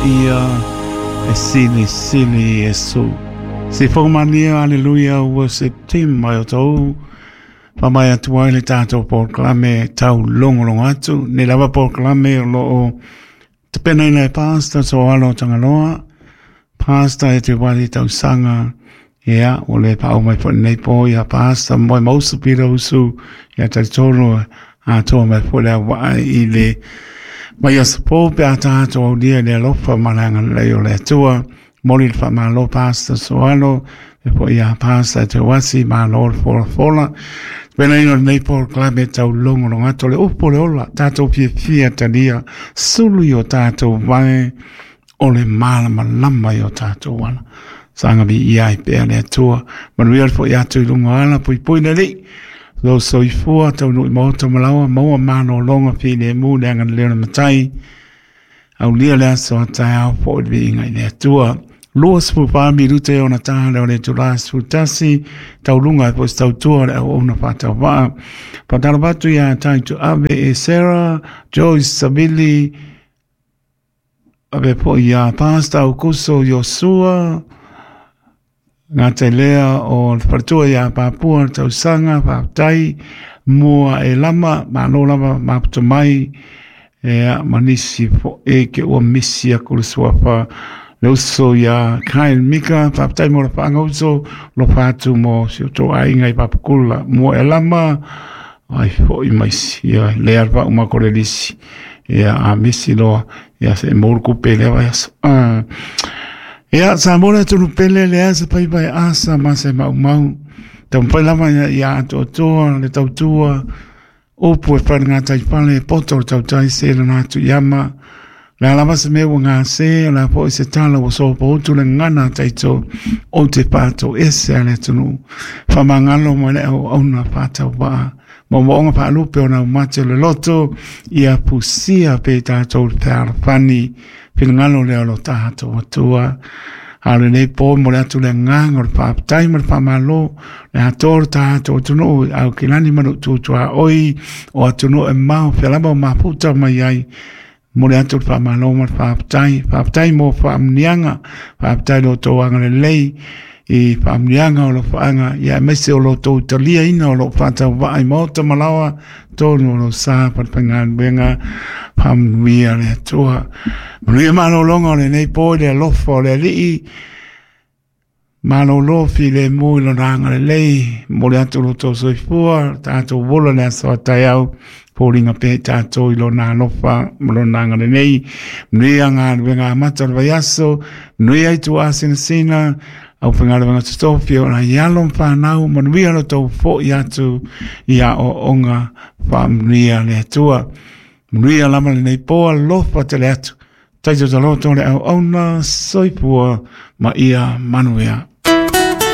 paia e silisili Iesu. Sifoga mania, aleluia, ua September e o tou whamai atu ai le tātou polokalame tau longolongo atu. Nei lava polokalame o loo tapenaina e Pastor Soalo Tagaloa, Pastor e te wali tausaga, ia, ua le paau mai foi lenei po ia Pastor Moe Mausu Pita Usu, ia talitonu atoa mai foi le auvaa i le mai aso po pe a tatou aulia i le alofa ma le agalelei o le Atua. Momoli le faamalo Pastor Soalo, e foi ia Pastor e te wasi, malo le folafola. Tapenaina o lenei polokalame tau logologo atu o le upu o le ola, tatou fiafia talia, sulu i o tatou vae, o le malamalama i o tatou ala. Saga viia ai pea le Atua. Manuia le foi atu i luga o ala, puipui le Alii. Lou soifua taunuu i maota ma laoa, maua malologa filemu le agalelei o le Matai. Aulia le aso a taeao foi le viiga i le Atua. 24 minute e ona tā leo le itulā 11, tauluga ai foi se tautua o le auauna faatauvaa. Faatalofa atu ia Taito Ave e Sarah, Joyce Savili, ave foi ia Pastor Aukuso Iosua, Gata i lea o le faletua ia Papua le tausaga, faafetai mua e lama, malo lava maputa mai, ea ma nisi foʻi ke ua misi aku le suafa le uso ia Kyle Mika, faafetai mo le whaanga uso, lofa atu mo si o tō aiga i Papakula, mua e lama, ai foʻi mai si, ia lea le whauma ko le lisi, ia a misi loa, ia se moulu kupe lea vai aso. Ia, sa mo le atunu pele le asa pai pai asa ma se maumau. Taumafai lava ia, ia atoatoa le tautua, upu e whai ngā taipale, poto le tautai se lana atu i ama. Le a lava se mea ua gase, o le a foi se tala ua sopoutu le gagana a taito o te whātau ese a le atunuu. Whamangalo mai le auauna whātauvaa. Moomooga faalupe o naumate o le loto, ia pusia pea i tatou le fealofani, finagalo lea o lo tatou Atua. A o lenei po mo le atu le agaga o le faafetai ma le faamalo, le atoa o le tatou atunuu i Aukilani ma Nuututuaoi, o atunuu e mamao fea lava o mafuta mai ai, Momoli atu le faamalo ma le faafetai. Faafetai mo faamanuiaga, faafetai lo outou agalelei i faamanuiaga o alofaaga, ia aemaise o lo outou taliaina o lou faatauvaa i maota ma laoa, tonu o lou sa falefaigaluega, faamanuia le Atua. Manuia malologa o lenei po i le alofa o le Alii, Malolo filemu i lona agalelei, momoli atu lo outou soifua, tatou ola le aso a taeao, foliga pea i tatou i lona alofa ma lona agalelei. Manuia galuega amata o le vaiaso, manuia ituasinasina, aufaigaluega totofi o nai alo ma fanau, manuia lo outou foi atu i aoaoga, faamanuia le Atua. Manuia lava lenei po, alofa tele atu. Taito taloto le auauna, soifua ma ia manuia.